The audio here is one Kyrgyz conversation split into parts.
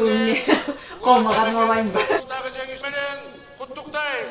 сыяктуу эмне колума кармабайынбы? Дагы жеңиш менен куттуктайм.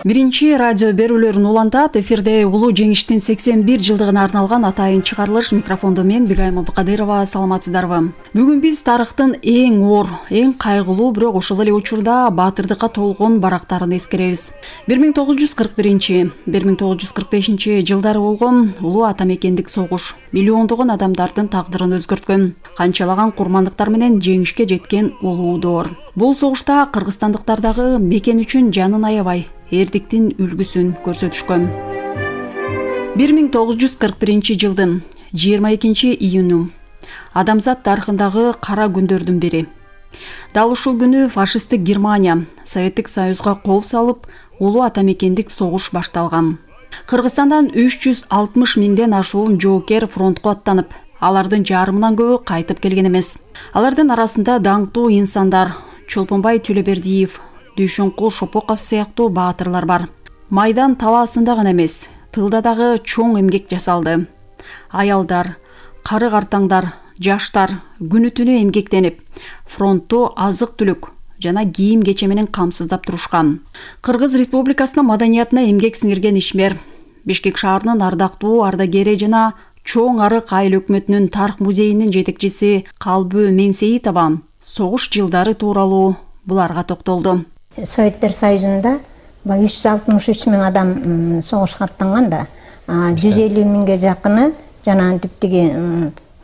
Биринчи радио берүүлөрүн улантат. Эфирде улуу жеңиштин 81 жылдыгына арналган атайын чыгарылыш. Микрофондо мен Бигайым Абдыкадырова. Саламатсыздарбы? Бүгүн биз тарыхтын эң оор, эң кайгылуу, бирок ошол эле учурда баатырдыкка толгон барактарын эскеребиз. 1941-1945 жылдары болгон улуу ата мекендик согуш миллиондогон адамдардын тагдырын өзгөрткөн, канчалаган курмандыктар менен жеңишке жеткен улуу доор. Бул согушта кыргызстандыктардагы мекен үчүн жанын аябай эрдиктин үлгүсүн көрсөтүшкөн. 1941 жылдын 22 июнү адамзат тарыхындагы кара күндөрдүн бири. Дал ушул күнү фашисттик Германия Советтик Союзга кол салып, улуу ата мекендик согуш башталган. Кыргызстандан 360 миңден ашуун жоокер фронтко аттанып, алардын жарымынан көбү кайтып келген эмес. Алардын арасында даңктуу инсандар Чолпонбай Төлөбердиев, Дүйшөнкул Шопоков сыяктуу баатырлар бар. Майдан талаасында гана эмес, тылда дагы чоң эмгек жасалды. Аялдар, кары-картаңдар, жаштар күнү-түнү эмгектенип, фронтту азык-түлүк жана кийим-кече менен камсыздап турушкан. Кыргыз Республикасынын маданиятына эмгек сиңирген ишмер, Бишкек шаарынын ардактуу ардагери жана Чоң Арык айыл өкмөтүнүн тарых музейинин жетекчиси Калбы Менсейитова согуш жылдары тууралуу буларга токтолду. Советтер Союзунда 363 миң адам согушка аттанган да, 150 миңге жакыны жана типтиги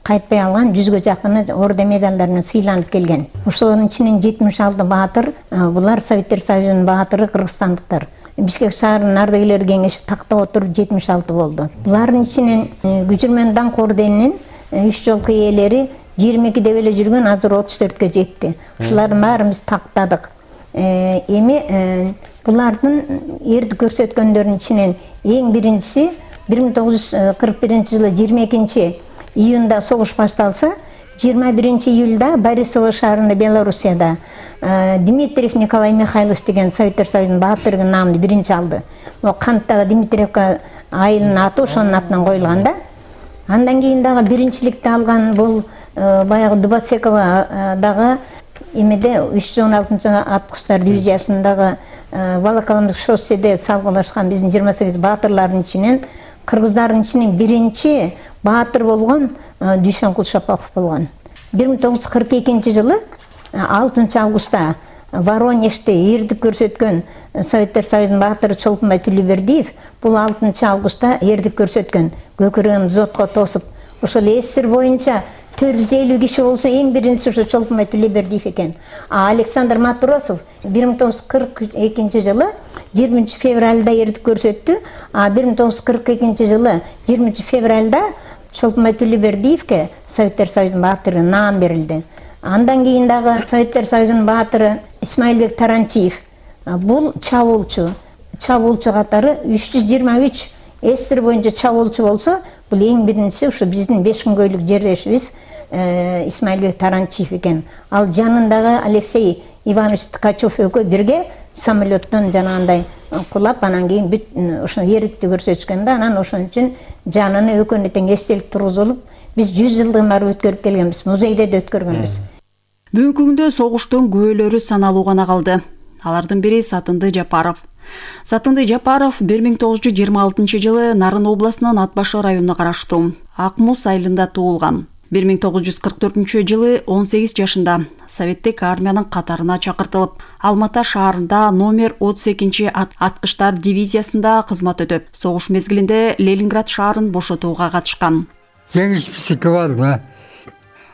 кайтпай алган 100гө жакыны орден медалдар менен сыйланып келген. Ошолордун ичинен 76 баатыр, булар Советтер Союзунун баатыры кыргызстандыктар. Бишкек шаарынын ардагерлер кеңеши тактап отуруп 76 болду. Булардын ичинен Күчүрмөн даңк орденинин 3 жолку ээлери 22 деп эле жүргөн, азыр 34гө жетти. Ушулардын баарын биз тактадык. Эми булардын эрди көрсөткөндөрүнүн ичинен эң биринчиси 1941 жылы 22 июнда согуш башталса, 21 июлда Борисово шаарында, Белоруссияда Дмитриев Николай Михайлович деген Советтер Союзунун баатырынын наамын биринчи алды. Канттагы Дмитриевка айылынын аты ошонун атынан коюлган да. Андан кийин дагы биринчиликти алган бул баягы Дубацекова дагы эмеде 316-аткычтар дивизиясындагы Волоколамдык шосседе салгылашкан биздин 28 баатырлардын ичинен кыргыздардын ичинен биринчи баатыр болгон Дүйшөнкул Шопоков болгон. 1942 жылы 6 августта Воронежде эрдик көрсөткөн Советтер Союзунун баатыры Чолпонбай Төлөбердиев бул 6 августта эрдик көрсөткөн, көкүрөгүн зотко тосуп, ошол СССР боюнча 450 киши болсо эң биринчиси ошо Чолпонбай Төлөбердиев экен. Александр Матросов 1942 жылы 20 февралда эрдик көрсөттү, 1942 жылы 20 февралда Чолпонбай Төлөбердиевке Советтер Союзунун баатыры наам берилди. Андан кийин дагы Советтер Союзунун баатыры Исмаилбек Таранчиев, бул чабуулчу катары 323 СССР боюнча чабуулчу болсо, бул эң биринчиси ушу биздин 5 күнгөйлүк жерлешибиз Исмаилбек Таранчиев экен. Ал жанындагы Алексей Иванович Ткачев экөө бирге самолеттон жанагындай кулап, анан кийин бүт ошо эрдикти көрсөтүшкөн да, анан ошон үчүн жаныны экөөнү тең эстелик тургузулуп, биз 100 жылдыгын барып өткөрүп келгенбиз, музейде да өткөргөнбүз. Бүгүнкү күндө согуштун күбөлөрү саналуу гана калды. Алардын бири Сатынды Жапаров. Сатынды Жапаров 1926 жылы Нарын областынын Атбашы районуна караштуу Ак Муз айылында туулган. 1944 жылы 18 жашында Советтик армиянын катарына чакыртылып, Алмата шаарында номер 32 аткычтар дивизиясында кызмат өтөп, согуш мезгилинде Ленинград шаарын бошотууга катышкан. Жеңиш бизики болду.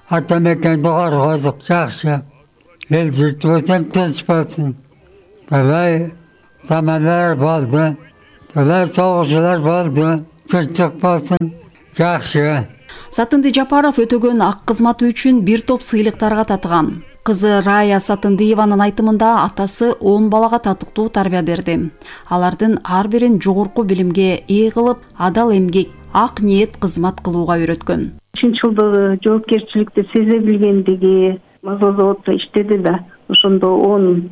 Ата мекенди коргодук, жакшы. Эл журтубуздан тынч болсун. Былай замандар болду. Былай согушуулар болду. Тынчтык болсун. Жакшы. Сатынды Жапаров өтөгөн ак кызматы үчүн бир топ сыйлыктарга татыган. Кызы Рая Сатындыеванын айтымында атасы 10 балага татыктуу тарбия берди. Алардын ар бирин жогорку билимге ээ кылып, адал эмгек, ак ниет кызмат кылууга үйрөткөн. Чынчылдыгы, жоопкерчиликти сезе билгендиги, маза заводдо иштеди да, ошондо 10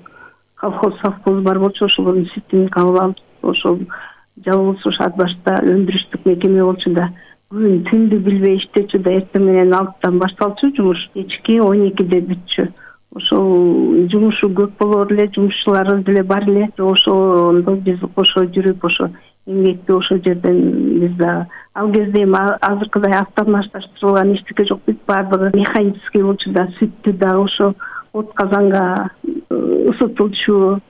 колхоз совхоз бар болчу, ошолордун ситин кабыл алып, ошол жалгыз ушу ат башта өндүрүштүк мекеме болчу да күн түндү билбей иштечү да эртең менен 6-тан башталчу жумуш, кечки 12-де бүтчү. Ошол жумушу көп болор эле, жумушчуларыбыз деле бар эле. Ошондо биз кошо жүрүп, ошо эмгекти ошол жерден биз да ал кезде эми азыркыдай автоматташтырылган эчтеке жок, бүт баардыгы механический болчу да, сүттү дагы ошо от казанга ысытылчу,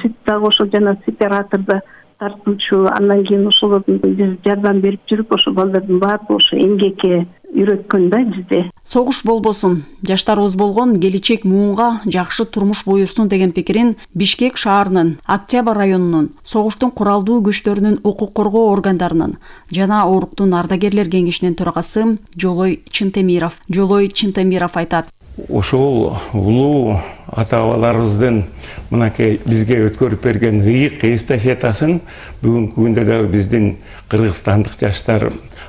сүт дагы ошо жана сепаратордо тартылчу. Андан кийин ошолордун биз жардам берип жүрүп, ошо балдардын баардыгы ошо эмгекке үйрөткөн да бизде. Согуш болбосун, жаштарыбыз болгон келечек муунга жакшы турмуш буйрсун деген пикирин Бишкек шаарынын Октябрь районунун согуштун куралдуу күчтөрүнүн укук коргоо органдарынын жана Ооруктун ардагерлер кеңешинин төрагасы Жолой Чынтемиров айтат. Ошол улуу ата-бабаларыбыздын мынакей бизге өткөрүп берген ыйык эстафетасын бүгүнкү күндө дагы биздин кыргызстандык жаштар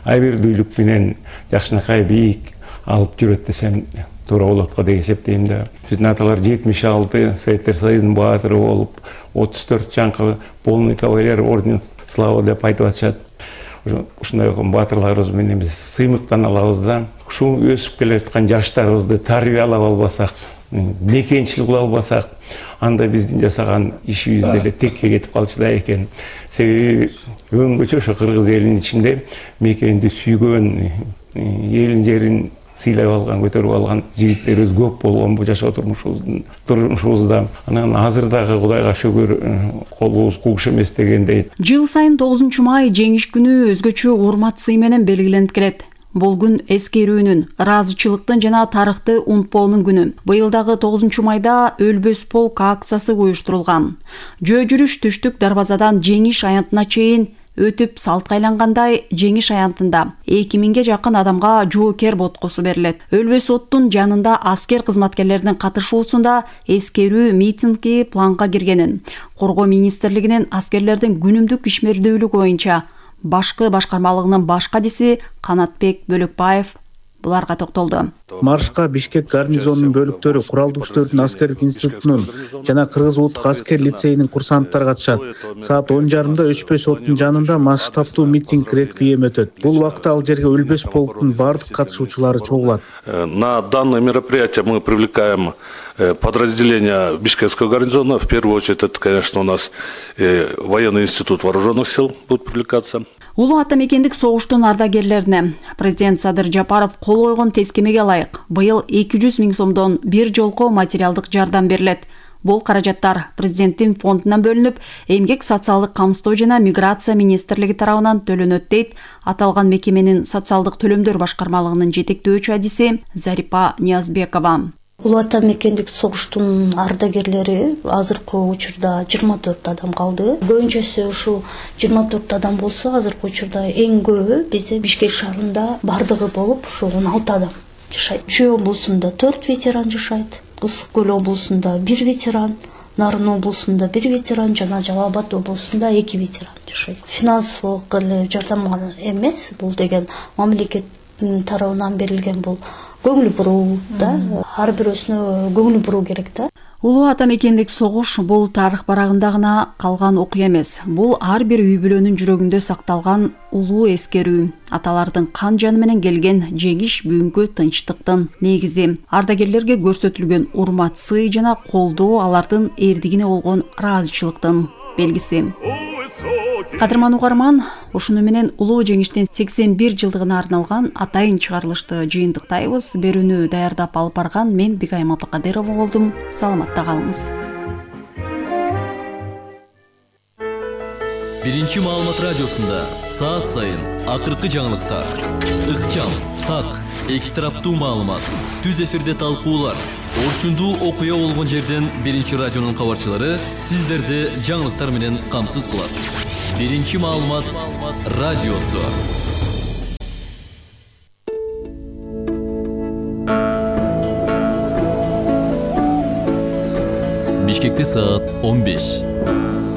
айбирдүүлүк менен жакшынакай бийик алып жүрөт десем туура болот го деп эсептейм да. Биздин аталар 76 Советтер Союзунун баатыры болуп, 34 жаңкы полный кавалер орден славы деп айтып атышат. Ушундай баатырларыбыз менен биз сыймыктан алабыз да. Ушул өсүп келе жаткан жаштарыбызды тарбиялап албасак, мекенчил кыла албасак, анда биздин жасаган ишибиз деле текке кетип калчу да экен. Себеби өңгөчө ошо кыргыз элинин ичинде мекенди сүйгөн, элин жерин сыйлап алган, көтөрүп алган жигиттерибиз көп болгон бул жашоо турмушубузда. Анан азыр дагы Кудайга шүгүр колубуз кууш эмес дегендей. Жыл сайын 9 май жеңиш күнү өзгөчө урмат сый менен белгиленип келет. Бул күн эскерүүнүн, ыраазычылыктын жана тарыхты унутпоонун күнү. Быйыл дагы 9 майда өлбөс полк акциясы уюштурулган. Жөө жүрүш түштүк дарбазадан жеңиш аянтына чейин өтүп салтка айлангандай жеңиш аянтында 2000ге жакын адамга жоокер боткосу берилет. Өлбөс оттун жанында аскер кызматкерлеринин катышуусунда эскерүү митинги планга киргенин, Коргоо министрлигинин аскерлердин күнүмдүк ишмердүүлүгү боюнча башкы башкармалыгынын баш кадиси Канатбек Бөлөкбаев буларга токтолду. Маршка Бишкек гарнизонунун бөлүктөрү, куралдуу күчтөрдүн аскердик институтунун жана Кыргыз улуттук аскер лицейинин курсанттары катышат. Саат 10:30 Өчпөс оттун жанында масштабтуу митинг реквием өтөт. Бул убакта ал жерге Өлбөс полктун бардык катышуучулары чогулат. На данное мероприятие мы привлекаем подразделения Бишкекского гарнизона. В первую очередь это, конечно, у нас военный институт вооруженных сил будет привлекаться. Улуу ата мекендик согуштун ардагерлерине президент Садыр Жапаров кол койгон тескемеге ылайык быйыл 200 000 сомдон бир жолко материалдык жардам берилет. Бул каражаттар президенттин фондунан бөлүнүп, эмгек социалдык камсыздоо жана миграция министрлиги тарабынан төлөнөт дейт аталган мекеменин социалдык төлөмдөр башкармалыгынын жетектөөчү адиси Зарипа Ниязбекова. Улуу ата мекендик согуштун ардагерлери азыркы учурда 24 адам калды. Көбүнчөсү ушул 24 адам болсо, азыркы учурда эң көбү бизде Бишкек шаарында бардыгы болуп, ушул 16 адам жашайт. Чүй облусунда 4 ветеран жашайт. Ысык көл облусунда 1 ветеран, Нарын облусунда 1 ветеран жана Жалал Абад облусунда 2 ветеран жашайт. Финансылык эле жардам эмес, бул деген мамлекет тарабынан берилген бул көңүл буруу да, ар бирөөсүнө көңүл буруу керек да. Улуу ата мекендик согуш бул тарых барагында гана калган окуя эмес. Бул ар бир үй бүлөнүн жүрөгүндө сакталган улуу эскерүү. Аталардын кан жаны менен келген жеңиш бүгүнкү тынчтыктын негизи. Ардагерлерге көрсөтүлгөн урмат сый жана колдоо алардын эрдигине болгон ыраазычылыктын белгиси. Кадырман угарман, ушуну менен улуу жеңиштин 81 жылдыгына арналган атайын чыгарылышты жыйынтыктайбыз. Берүүнү даярдап алып барган мен Бигайым Абдыкадырова болдум. Саламатта калыңыз. Биринчи маалымат радиосунда саат сайын акыркы жаңылыктар, ыкчам, так, эки тараптуу маалымат, түз эфирде талкуулар, орчундуу окуя болгон жерден биринчи радионун кабарчылары сиздерди жаңылыктар менен камсыз кылат. Биринчи маалымат радиосу. Бишкекте саат 15.